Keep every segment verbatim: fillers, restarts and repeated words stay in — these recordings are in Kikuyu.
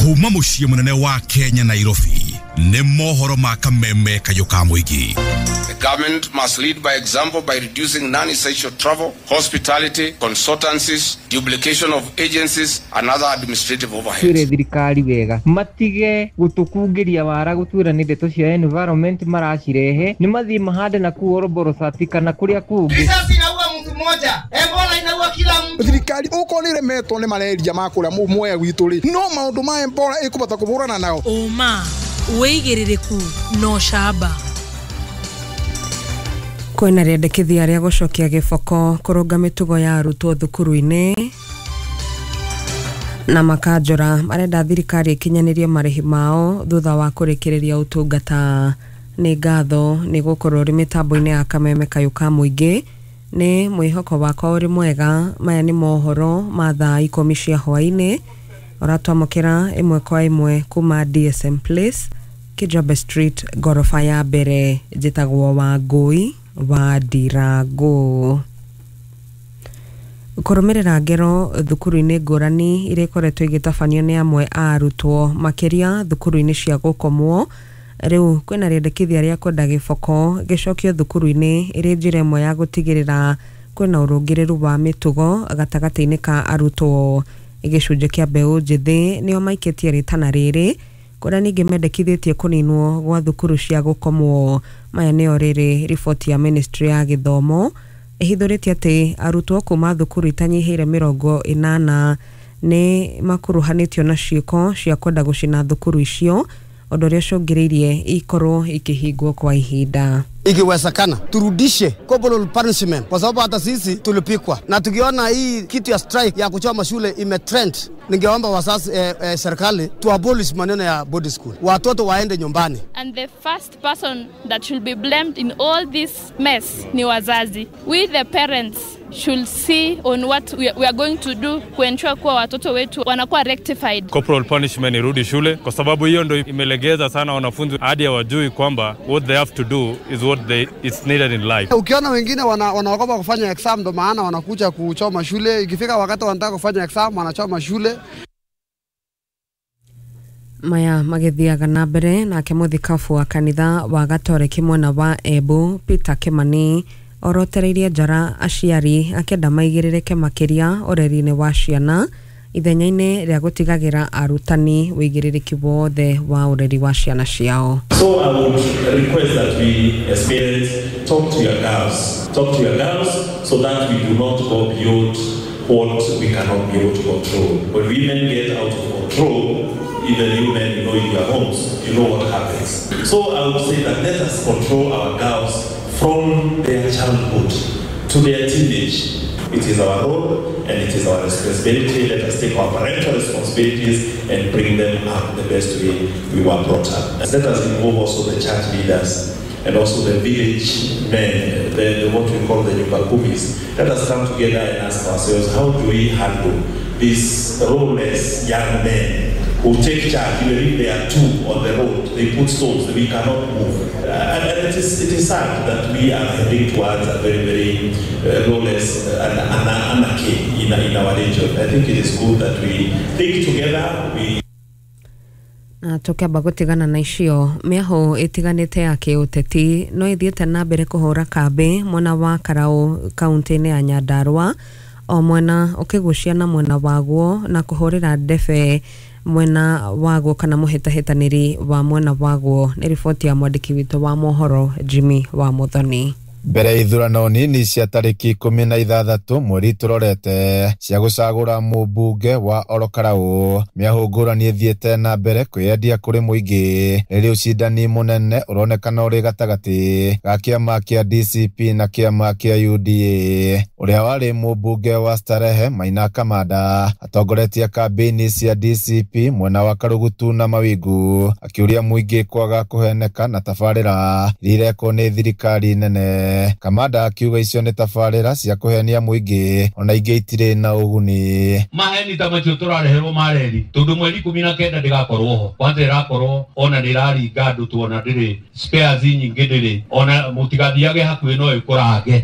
Kuma mũciĩ mũnene wa Kenya, Nairobi, nĩ mohoro ma kameme kayũ ka mũingĩ. The government must lead by example by reducing non-essential travel, hospitality, consultancies, duplication of agencies, and other administrative overheads. Twĩre thirikari wega matige gũtũkungĩria wara gũtwĩra nĩ ndeto cia environment maracirehe, nĩ mathiĩ mahande na kuu Oroborosati kana kũrĩa kũngĩ. Risasi inaua mtu mmoja, Ebola inaua kila mtu. Thirikari okorwo nĩ ĩremetwo nĩ malaria ma kũrĩa Mwea gwitũ rĩ, no maũndũ ma Ebola ĩkũbota kũhũrana nao. Ũma, wĩigĩrĩrĩku na ũcamba. Kwĩna rĩendekithia rĩa gũcokia gĩboko kũrũnga mĩtugo ya arutwo thukuru-inĩ, na makanjũra marenda thirikari ĩkinyanĩrie marĩhi mao thutha wa kũrĩkĩrĩria ũtungata. Nĩ ngatho nĩ gũkorwo ũrĩ mĩtambo-inĩ ya kameme kayũ ka mũingĩ. Nĩ mwĩhoko wakwa ũrĩ mwega. Maya nĩ mohoro ma thaa ikũmi cia hwaĩ-inĩ, ũratwamũkĩra ĩmwe kwa ĩmwe kuma D S M Place, Kijabe Street, ngoroba ya mbere. Njĩtagwo Wangũi wa Ndirangũ. Kũrũmĩrĩra ngero thukuru-inĩ ngũrani iria ikoretwo igĩtabanio nĩ amwe a arutwo, makĩria thukuru-inĩ cia gũkomwo, rĩu kwĩna rĩendekithia rĩa kwenda gĩboko gĩcokio thukuru-inĩ ĩrĩ njĩra ĩmwe ya gũtigĩrĩra kwĩna ũrũngĩrĩru wa mĩtugo gatagatĩ-inĩ ka arutwo. Gĩcunjĩ kĩa mbeũ njĩthĩ nĩo maikĩtie rĩtana rĩrĩ, kũrĩa ningĩ mendekithĩtie kũninwo gwa thukuru cia gũkomwo. Maya nĩo rĩrĩ riboti ya ministry ya gĩthomo ĩhithũrĩtie atĩ arutwo kuma thukuru itanyihĩire mĩrongo ĩnana nĩ makuruhanĩtio na ciĩko cia kwenda gũcina thukuru icio, ũndũ ũrĩa ũcũngĩrĩirie ikorwo ikĩhingwo kwa ihinda. Ikiwezekana turudishe corporal punishment, kwa sababu hata sisi tulipikwa, na tukiona hii kitu ya strike ya kuchoma shule imetrend, ningeomba wazazi, eh, eh, serikali tu abolish maneno ya boarding school, watoto waende nyumbani. And the first person that should be blamed in all this mess ni wazazi. We the parents should see on what we, we are going to do kuensure kuwa watoto wetu wanakuwa rectified. Corporal punishment irudi shule kwa sababu hiyo ndo imelegeza sana wanafunzi hadi hawajui kwamba what they have to do is what they it's needed in life. Ukiona wengine wana, wanaogopa kufanya exam, ndo maana wanakuja kuchoma shule. Ikifika wakati wanataka kufanya exam, wanachoma shule. Maya magĩthiaga na mbere, nake mũthikabu wa kanitha wa Gatoreki mwena wa Embu, Peter Kimani, orotereirie njara aciari akĩenda maigĩrĩrĩke makĩria ũreri-inĩ wa ciana ithenya-inĩ rĩa gũtigagĩra arutani wĩigĩrĩrĩki wothe wa ũreri wa ciana ciao. So I would request that we as parents talk to your girls, talk to your girls so that we do not go beyond what we cannot be able to control. When women get out of control, even you men, you know, in your homes, you know what happens. So I would say that let us control our girls from their childhood to their teenage. It is our role and it is our responsibility. Let us take our parental responsibilities and bring them up the best way we were brought up. Let us involve also the church leaders and also the village men, the, the what we call the Nyumba Kumis. Let us come together and ask ourselves, how do we handle these lawless young men who take charge, even if they are two on the road, they put stones, we cannot move. Uh, and, and it is, it is sad that we are heading towards a very, very uh, lawless uh, an, an, anarchy in, in our region. I think it is good that we think together, we Na tũkĩamba gũtigana na icio, mĩahũ ĩtiganĩte ya kĩũteti no ĩthiĩte na mbere kũhũra kambĩ mwena wa Karaũ, kaunti-inĩ ya Nyandarua, o mwena ũkĩgucia na mwena waguo na kũhũrĩra ndebe mwena waguo kana mũhĩtahĩtanĩri wa mwena waguo. Nĩ riboti ya mwandĩki witũ wa mohoro, Jimmy wa Muthoni. Mbere ya ithurano nini cia tarĩki ikũmi na ithathatũ mweri tũrorete cia gũcagũra mũmbunge wa Orokarau, mĩahũ ngũrani ĩthiĩte na mbere kwĩyendia kũrĩ mũingĩ, rĩrĩ ũcindani mũnene ũronekana ũrĩ gatagatĩ ga kĩama kĩa D C P na kĩama kĩa U D A. Ũrĩa warĩ mũmbunge wa Starehe, Maina Kamanda, atongoretie kambĩini cia D C P mwena wa Karugutu na Mawingu, akĩũria mũingĩ kwaga kũheneka na tabarĩra iria irekwo nĩ thirikari nene. Kamanda akiuga icio nĩ tabarĩra cia kũhenia mũingĩ, ona ingĩ itirĩ na ũguni. Maheni ta macio tũrareherwo ma reri, tondũ mweri ikũmi na kenda ndĩgakorwo ho. Kwanza ĩrakorwo ona nĩ ĩraringa andũ, tuona ndĩrĩ spares nyingĩ, ndĩrĩ ona, mũtigathiage hakuhĩ, no ĩkũrange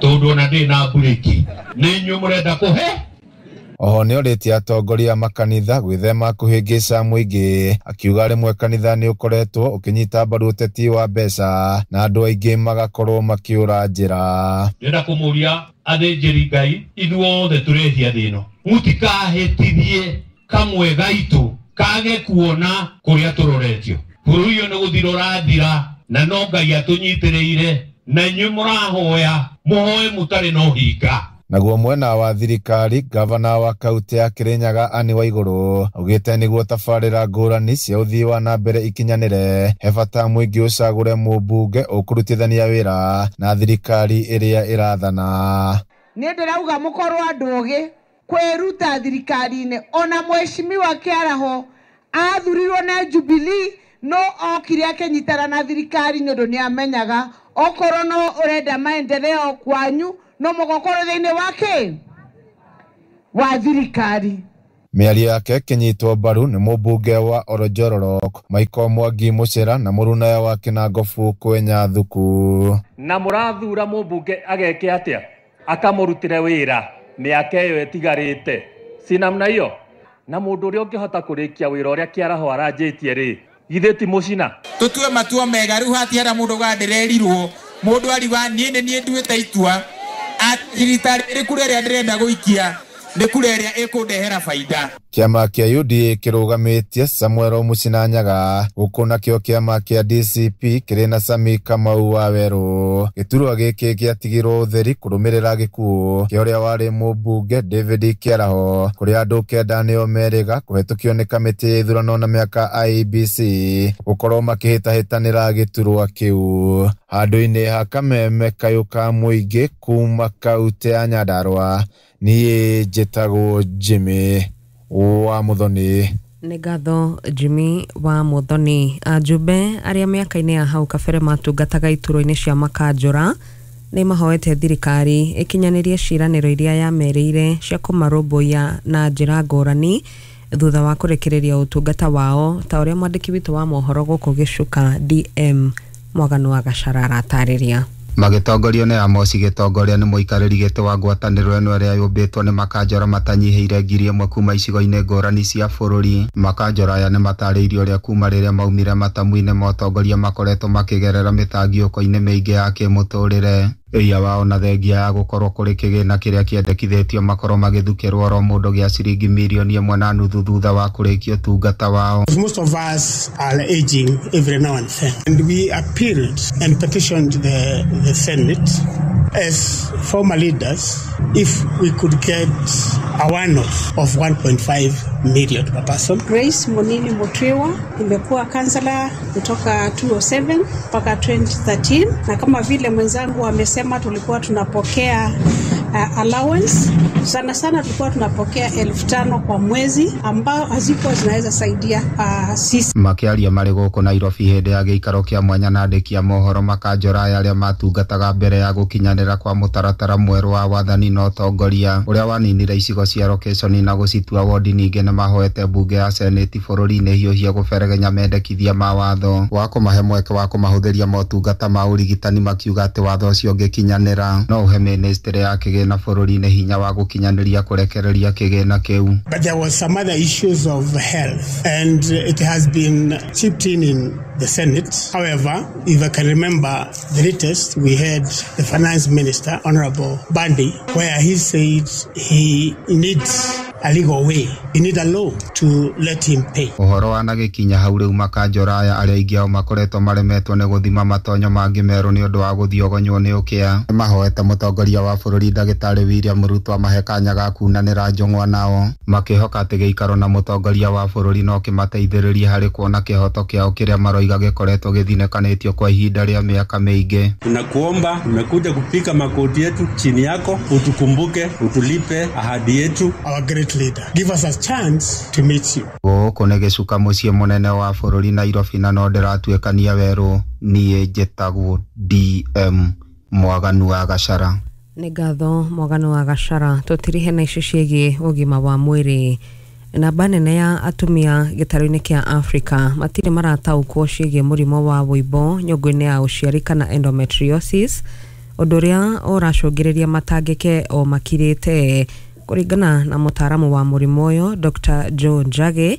tondũ ona ndĩrĩ na mburĩki. Nĩ inyuĩ mũrenda kũhe Oho nĩorĩtie atongoria a makanitha gwĩthema kũhĩngĩca mũingĩ, akiuga rĩmwe kanitha nĩ ũkoretwo ũkĩnyita mbaru ũteti wa mbeca na andũ aingĩ magakorwo makĩũra njĩra. Ndĩrenda kũmũria athĩnjĩri Ngai ithuothe tũrehia thĩ ĩno, mũtikahĩtithie kamwe gaitũ kage kuona kũrĩa tũroretio. Bũrũri ũyũ nĩ gũthira ũrathira na no Ngai atũnyitĩrĩire, na inyuĩ mũrahoya mũhoe mũtarĩ na ũhinga. Naguo mwena wa thirikari, gavana wa kaunti ya Kirinyaga Anne Waiguru augĩte nĩguo tabarĩra ngũrani cia ũthii wa na mbere ikinyanĩre, he bata mũingĩ ũcagũre mũmbunge ũkũrutithania wĩra na thirikari ĩrĩa ĩrathana. Niĩ ndĩrauga mũkorwo andũ ogĩ kwĩruta thirikari-inĩ. Ona mheshimiwa Kĩaraho athurirwo na Jubilee no okire akĩnyitana na thirikari nĩ ũndũ nĩ amenyaga okorwo no ũrenda maendeleo kwanyu no mũgokorwo thĩinĩ wa kĩ wa thirikari. Mĩario yake ĩkĩnyitwo mbaru nĩ mũmbunge wa Oronjororok Michael Mwangi Mũcera na mũrunawe wa Kĩnangobu Kwenya Thuku. Na mũrathura mũmbunge ageke atĩa? Akamũrutĩre wĩra mĩaka ĩyo ĩtigarĩte, si namna hiyo? Na mũndũ ũrĩa ũngĩhota kũrĩkia wĩra ũrĩa Kĩaraho aranjĩtie rĩ, githĩ ti mũcina? Tũtue matua mega rĩu hatiara mũndũ uga ndĩrerirwo, mũndũ ariuga niĩ nĩ niĩ nduĩte itua rita rĩrĩ kura ĩrĩa ndĩrenda gũikia nĩ kura ĩrĩa ĩkũndehera baida. Kĩama kĩa U D A kĩrũgamĩtie Samuel Mũcina Nyaga, gũkũ nakĩo kĩama kĩa D C P kĩrĩ na Sami Kamau wa Werũ. Gĩturwa gĩkĩ gĩatigirwo ũtheri kũrũmĩrĩra gĩkuũ kĩa ũrĩa warĩ mũmbunge David Kĩaraho, kũrĩa andũ kenda nĩo merĩga kũhetũkio nĩ kamĩtĩ ya ithurano na mĩaka I E B C gũkorwo makĩhĩtahĩtanĩra gĩturwa kĩu. Handũ-inĩ ha kameme kayũ ka mũingĩ kuma kaunti ya Nyandarua, niĩ njĩtagwo Jimmy wa Muthoni. Nĩ ngatho Jimmy wa Muthoni. Ajumbe arĩa mĩaka-inĩ ya hau kabere matungataga iturwa-inĩ cia makanjũra nĩ mahoete thirikari ĩkinyanĩrie ciĩranĩro iria yamerĩire cia kũmarũmbũiya na njĩra ngũrani thutha wa kũrekereria ũtungata wao, ta ũrĩa mwandĩki witũ wa mohoro gũkũ Gĩcuka D M Mwaganu wa Gacara aratarĩria. Magĩtongorio nĩ Amosi gĩtongoria nĩ mũikarĩri gĩtĩ wa ngwatanĩro ĩno ĩrĩa yũmbĩtwo nĩ makanjora matanyihĩire ngiri ĩmwe kuma icigo-inĩ ngũrani cia bũrũri. Makanjora aya nĩ matarĩirie ũrĩa kuma rĩrĩa maumire matamu-inĩ ma ũtongoria makoretwo makĩgerera mĩtangiũko-inĩ mĩingĩ ya kĩmũtũrĩre. Ĩia wao na thengia ya gũkorwo kũrĩ kĩgĩna kĩrĩa kĩendekithĩtio makorwo magĩthukĩrwo oro mũndũ gĩa ciringi mirioni ĩmwe na nuthu thutha wa kũrĩkia ũtungata wao. Most of us are aging every now and then, and we appealed and petitioned the, the Senate as former leaders if we could get a one-off of one point five million per person. Grace Monini Mutwiwa, nimekuwa kansela kutoka two oh seven mpaka twenty thirteen, na kama vile mwenzangu amesema tulikuwa tunapokea uh, allowance sana sana tulikuwa tunapokea elfu tano kwa mwezi ambao hazikuwa zinaweza saidia uh, sisi. Makĩaria marĩ gũkũ Nairobi hĩndĩ ya gĩikaro kĩa mwanya na andĩki a mohoro, makanjora aya arĩa matungataga mbere ya gũkinyanĩra kwa mũtaratara mwerũ wa wathani na ũtongoria ũrĩa waninire icigo cia location na gũcitua wodi, ningĩ nĩmahoete mbunge ya seneti bũrũri-inĩ hiũhia gũberegenya mendekithia ma watho wa kũmahe mweke wa kũmahũthĩria motungata ma ũrigitani, makiuga atĩ watho ũcio ũngĩkinyanĩra no ũhe ministry ya kĩgĩna bũrũri-inĩ hinya wa gũkinyanĩria kũrekereria kĩgĩna kĩu. But there was some other issues of health, and it has been chipped in in the Senate. However, if I can remember the latest, we had the finance minister, Honorable Bandi, where he said he needs a legal way. He needs a law to let him pay. Ũhoro wanagĩkinya hau rĩu makanjora aya arĩa aingĩ ao makoretwo maremetwo nĩ gũthima matonyo mangĩ merũ nĩ ũndũ wa gũthiogonywo nĩ ũkĩa, nĩmahoete mũtongoria wa bũrũri ndagĩtarĩ William Ruto amahe kanya ga kunanĩra njũng'wa nao, makĩhoka atĩ gĩikaro na mũtongoria wa bũrũri no kĩmateithĩrĩrie harĩ kuona kĩhoto kĩao kĩrĩa maroiga gĩkoretwo gĩthinĩkanĩtio kwa ihinda rĩa mĩaka mĩingĩ. Tunakuomba, tumekuja kupika makoti yetu chini yako, utukumbuke, utulipe ahadi yetu. Our great leader, give us a chance to meet you. Gũkũ nĩ gĩcuka mũciĩ mũnene wa bũrũri Nairobi, na no ndĩratuĩkania werũ. Niĩ njĩtagwo D M Mwaganu wa Gacara. Nĩ ngatho Mwaganu wa Gacara. Tũtirihe na icio ciĩgiĩ ũgima wa mwĩrĩ. Namba nene ya atumia gĩtarũ-inĩ kĩa Afrika matirĩ marataũkwo ciĩgiĩ mũrimũ wa wũimbo nyũngũ-inĩ ya ũciari kana endometriosis, ũndũ ũrĩa ũracũngĩrĩria matangĩke o makirĩte. Kũringana na mũtaaramu wa mũrimũ ũyũ Doctor Joe Njagi,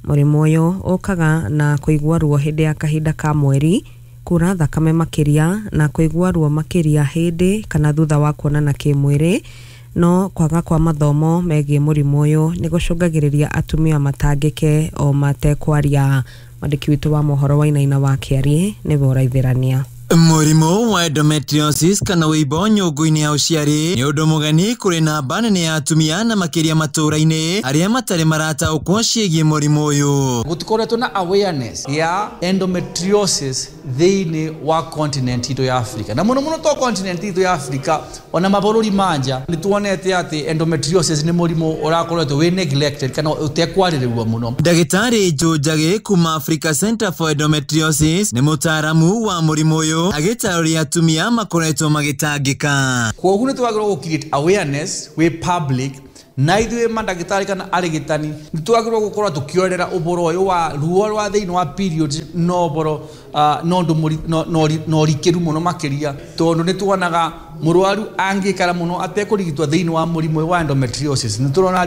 mũrimũ ũyũ ũkaga na kũigua ruo hĩndĩ ya kahinda ka mweri, kura thakame makĩria na kũigua ruo makĩria hĩndĩ kana thutha wa kuonana kĩmwĩrĩ. No kwaga kwa mathomo megiĩ mũrimũ ũyũ nĩ gũcũngagĩrĩria atumia matangĩke o matekwaria. Mwandĩki witũ wa mohoro Wainaina wa Kĩariĩ nĩwe ũraithĩrania. Mũrimũ wa endometriosis kana wĩimbo nyũngũ-inĩ ya ũciari nĩ ũndũ mũgeni kũrĩ namba nene ya atumia na makĩria matũũra-inĩ arĩa matarĩ marataũkwo ciĩgiĩ mũrimũ ũyũ. Gũtikoretwo na awareness ya endometriosis thĩinĩ wa continent itũ ya Africa, na mũno mũno to continent itũ ya Africa, ona mabũrũri manja nĩ tuonete atĩ endometriosis nĩ mũrimũ ũrakoretwo wĩ neglected kana ũtekwarĩrĩrwo mũno. Ndagĩtarĩ Joe Njagi kuma Africa Center for Endometriosis nĩ mũtaaramu wa mũrimũ ũyũ agĩtarĩria atumia makoretwo magĩtangĩka. Kwoguo nĩ twagĩrĩirwo gũ create awareness wĩ public, na ithuĩ mandagĩtarĩ kana arigitani nĩ twagĩrĩirwo gũkorwo tũkĩorera ũboro ũyũ wa ruo rwa thĩinĩ wa periods no ũboro no ũndũ na ũrikĩru mũno makĩria, tondũ nĩ tuonaga mũrwaru angĩikara mũno atekũrigitwo thĩinĩ wa mũrimũ wa endometriosis nĩ tũrona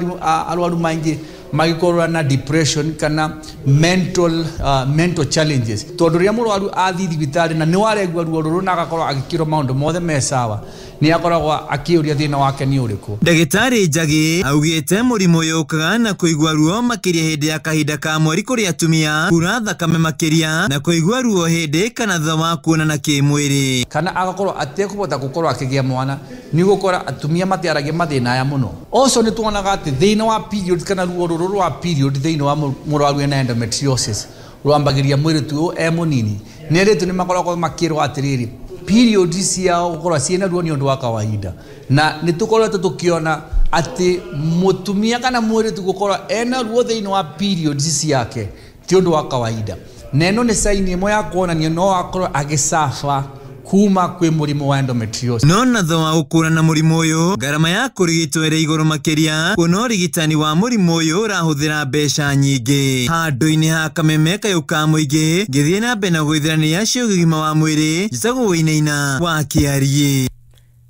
arwaru maingĩ magĩkorwo na depression kana mental uh, mental challenges, tondũ rĩrĩa mũrwaru athiĩ thibitarĩ na nĩ waregua ruo rũrũ na agakorwo agĩkĩrwo maũndũ mothe me sawa, nĩ akoragwo akĩũria thĩna wake nĩ ũrĩkũ. Ndagĩtarĩ Njagi augĩte mũrimũ ũyũ ũkaga na kũigua ruo makĩria hĩndĩ ya kahinda ka mweri kũrĩ atumia, kura thakame makĩria na kũigua ruo hĩndĩ kana thutha wa kuonana kĩmwĩrĩ, kana agakorwo atekũhota gũkorwo akĩgĩa mwana. Nĩ gũkora atumia matiaragia mathĩna aya mũno. Also nĩ tuonaga atĩ thĩna wa period kana ruo rũrũ rwa period thĩinĩ wa mũrwaru ena endometriosis rwambagĩria mwĩrĩ tu e mũnini. Nĩ airĩtu nĩ makoragwo makĩrwo atĩrĩrĩ period ciao gũkorwo ciĩna ruo nĩ ũndũ wa kawaida, na nĩ tũkoretwo tũkĩona atĩ mũtumia kana mwĩrĩtu gũkorwo ena ruo thĩinĩ wa period ciake ti ũndũ wa kawaida, na ĩno nĩ sign ĩmwe ya kuonania no akorwo agĩcafa kuma kwĩ mũrimũ wa endometriosis. No na thutha wa gũkũrana mũrimũ ũyũ ngarama ya kũrigitwo ĩrĩ igũrũ makĩria, kuona ũrigitani wa mũrimũ ũyũ ũrahũthĩra mbeca nyingĩ. Handũ-inĩ ha kameme kayũ ka mũingĩ ngĩthiĩ na mbere na gũithĩrania cia ũgima wa mwĩrĩ, njĩtagwo Wainaina wa Kĩariĩ.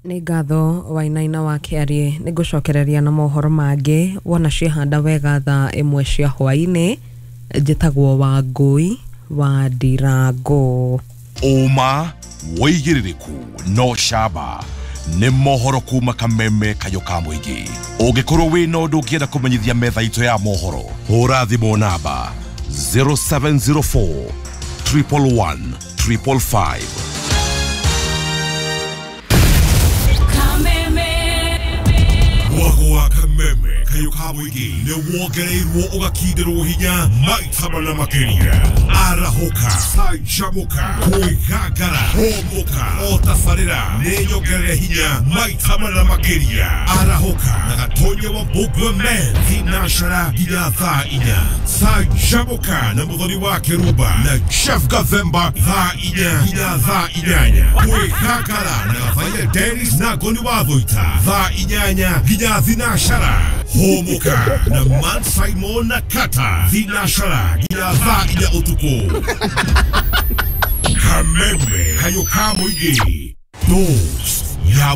Nĩ ngatho Wainaina wa Kĩariĩ. Nĩ ngũcokereria na mohoro mangĩ wona ciehanda wega thaa ĩmwe cia hwaĩ-inĩ. Njĩtagwo Wangũi wa Ndirango. Ũma wĩigĩrĩrĩku no camba nĩ mohoro kuma kameme kayũ ka mũingĩ. Ũngĩkorwo wĩna ũndũ ũngĩenda kũmenyithia metha itũ ya mohoro, hũra thimũ namba zero seven zero four triple one triple five. Mwago wa kameme kayũ ka mũingĩ nĩ wongereirwo ũgakindĩrwo hinya maita mana makĩria. Arahũka, canjamũka, kwĩgangara, hũmũka, o tabarĩra nĩ nyongerere hinya maita mana makĩria. Arahũka na Gatonya wa Mbũgua Men thinacara nginya thaa inya. Canjamũka na Mũthoni wa Kĩrumba na Jeff Gathemba thaa inya nginya thaa inyanya. Kwĩgangara na Gathaiya Dennis na Ngoni wa Thũita thaa inyanya nginya thinacara. Hũmũka na Man Simon na Kata thinacara nginya thaa inya ũtukũ. Kameme kayũ ka mũingĩ. Dose ya